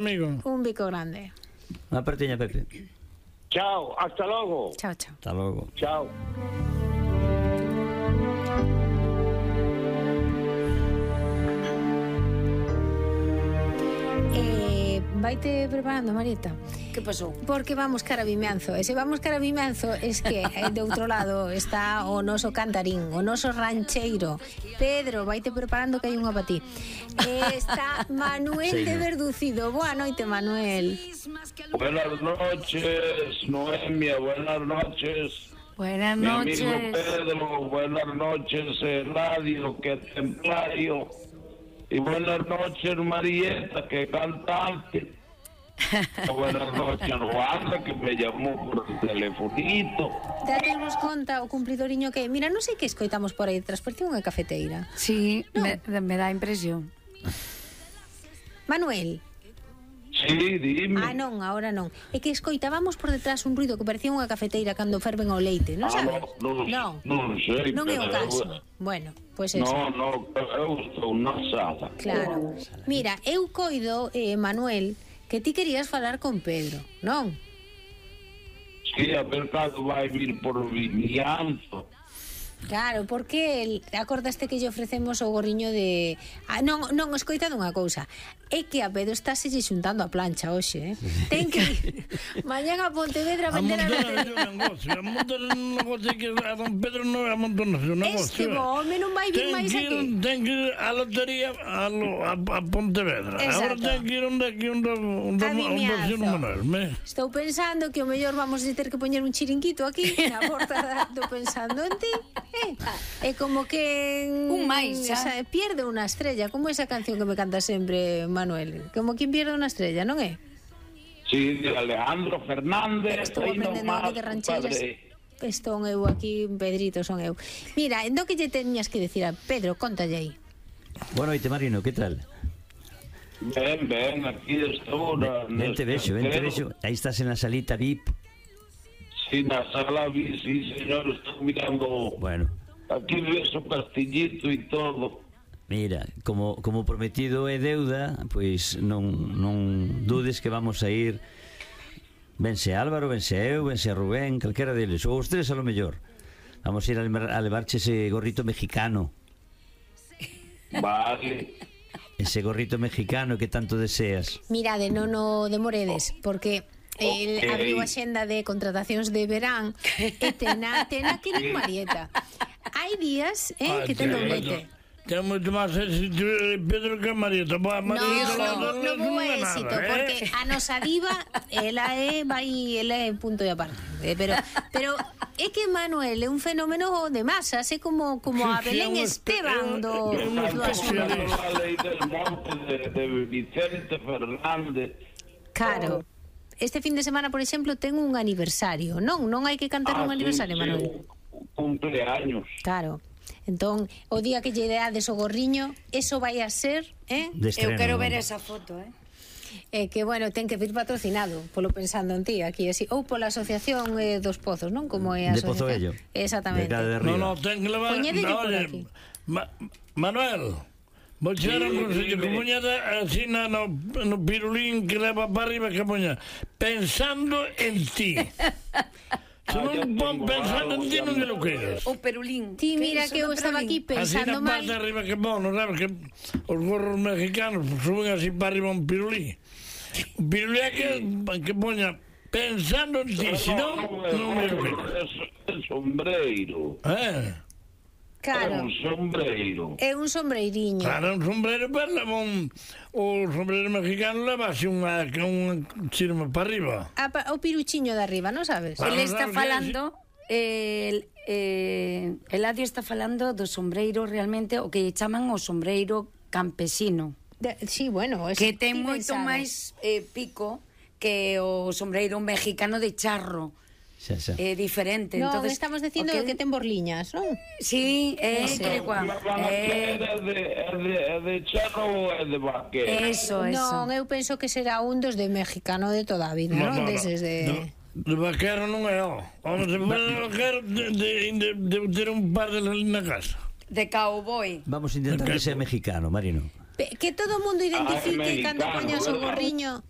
amigo. Un bico grande. Unha partiña, Pepe. Chao, hasta logo. Chao, chao. Hasta logo. Chao. Vaite preparando, Marieta. Que pasou? Porque vamos cara a Vimianzo. E se vamos cara a Vimianzo es que de outro lado está o noso cantarín, o noso rancheiro. Pedro, vaite preparando que hai unha para ti. Está Manuel de Verducido. Boa noite, Manuel. Buenas noches, Noemia, buenas noches. Buenas Mi noches. amigo Pedro, buenas noches, Radio, que templario. Y buenas noches, Marieta, que cantante. Buenas noches, Juana, que me llamó por el telefonito. Danos conta o cumplidoriño que... Mira, non sei que escoitamos por aí detrás, porque unha cafeteira. Sí, No. me dá impresión. Manuel. Sí, dime. Ah, non, agora non. É que escoitábamos por detrás un ruido que parecía unha cafeteira cando ferven o leite, non sabes? Non sei. Non é o pero caso. Bueno, pois eso. No, eu estou na sala. Claro. Mira, eu coido, Manuel, que ti querías falar con Pedro, non? Sí, a ver cando vai vir por Vimianzo. Claro, porque acordaste que lle ofrecemos o gorriño de... Ah, non, escoitado unha cousa. É que a Pedro está se xuntando a plancha hoxe, Ten que ir mañán a Pontevedra a vender a lotería. A montar un negocio que a don Pedro non é a montar un negocio. Este home non vai vir máis aquí. Ten que ir a lotería a Pontevedra. Agora ten que ir onde aquí un vecino Manuel. Estou pensando que o mellor vamos a ter que poñer un chiringuito aquí na porta. Estou pensando en ti. É como que un máis, pierde unha estrella, como esa canción que me canta sempre Manuel, como quien pierde unha estrella, non é? Sí, de Alejandro Fernández. Estou aprendendo aquí de rancheras. Estou eu aquí, Pedrito, son eu. Mira, endo que lle teñas que decir a Pedro, contalle aí. Boa noite, Marino, que tal? Ben, aquí estou. Vente vexo. Aí estás en la salita VIP. Sí, na sala vi, sí, señor, estou mirando. Bueno. Aquí ves o castillito e todo. Mira, como prometido é deuda, pois non dudes que vamos a ir. Vense Álvaro, vense eu, vense Rubén, calquera deles, ou os tres a lo mellor. Vamos a ir a levarche ese gorrito mexicano. Vale. Ese gorrito mexicano que tanto deseas. Mirade, non o demoredes, porque el abriu a xenda de contratacións de verán e tena que nin Marieta. Hai días que ten doblete. Ten moito máis éxito Pedro que Marieta. Non vou éxito, porque a nosa diva ela é punto e aparte. Pero é que Manuel é un fenómeno de masas, é como a Belén Esteban do asunto. A lei del monte de Vicente Fernández. Claro. Este fin de semana, por exemplo, ten un aniversario. Non hai que cantar un aniversario, Manuel. Cumpleaños. Claro. Entón, o día que lle deades o gorriño, eso vai a ser, Eu quero ver esa foto, que, bueno, ten que vir patrocinado, polo pensando en ti, aquí, así, ou pola asociación dos pozos, non? Como é a de asociación. Pozoello. Exactamente. No, ten que levar... Poñedelle por aquí. Manuel, vou chegar a un consello que poñada así no pirulín que leva para arriba, que poña pensando en ti. Se non pon pensando en ti, non me lo queres. O perulín. Ti mira que eu estaba aquí pensando mal. Así na parte arriba que pon, non sabes que os gorros mexicanos suben así para arriba un pirulín. Un pirulín que poña pensando en ti, se non me lo queres. É sombreiro. Claro. É un sombreiro. É un sombreiriño. Claro, un sombrero, pero leva o sombrero mexicano leva así un chirma para arriba. O piruchiño de arriba, non sabes? Ele está falando... Eladio está falando do sombreiro realmente, o que chaman o sombreiro campesino. Sí, bueno, que ten moito máis pico que o sombreiro mexicano de charro. É diferente. No, entonces, estamos dicindo que ten borliñas, non? Sí, é igual. É de charro ou é de vaquero? Eso. Non, eu penso que será un dos de mexicano de toda a vida, non? Deses de... De vaquero non é, Vamos a ver de vaquero de ter un par de ali na casa. De cowboy. Vamos a intentar que sea mexicano, Marino. Que todo o mundo identifique cando mexicano, poñas o ¿verdad? gorriño